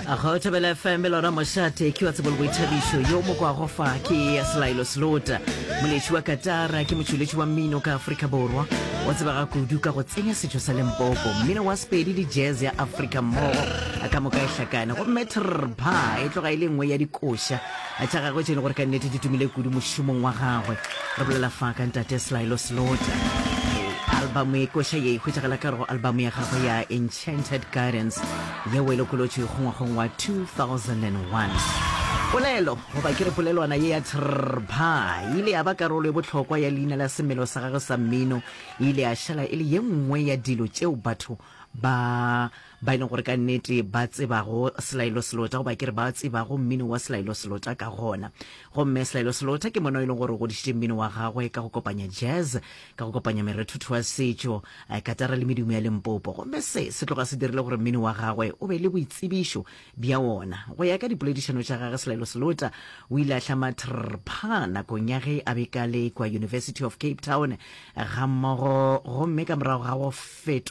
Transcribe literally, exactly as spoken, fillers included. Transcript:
Go Thobela F M lona mošate ke wa tsebo le boithabišo. Yo mo kwago fa ke Selaelo Selota, moletši wa katara, ke motšweletši wa mmino ka Afrika Borwa. O tsebega kudu ka go tsenya setšo sa Limpopo, mmino wa Sepedi le jazz ya Afrika mmogo ka moka e hlakane. Gomme trpa e tloga e le nngwe ya dikoša tša gagwe tše e leng gore ka nnete di tumile kudu mošomong wa gagwe. Re bolela fa ka ntate Selaelo Selota. Album e koša ye e hwetšagala ka go album ya gagwe ya Enchanted Gardens, yeo e lokolotšwego ngwageng wa two thousand and one. Polelo, goba ke re polelwana ye ya trpa, e ile ya ba karolo e bohlokwa ya leina la semelo sa gagwe sa mmino. E ile ya šala e le ye nngwe ya dilo tšeo batho ba ba e leng gore ka nnete ba tsebago Selaelo Selota, goba ke re ba tsebago mmino wa Selaelo Selota ka gona. Gomme Selaelo Selota ke mona e leng gore o godišitše mmino wa gagwe ka go kopanya jazz, ka go kopanya merethutho wa setšo, eh, katara le medumo ya Limpopo. Gomme se se tloga se dirile gore mmino wa gagwe o be le boitsebišo bja wona. Go ya ka dipoledišano tša gagwe, Selaelo Selota o ile a hlama trpa nakong ya ge a be ka le kwa University of Cape Town ga mmogo, gomme ka morago ga go feto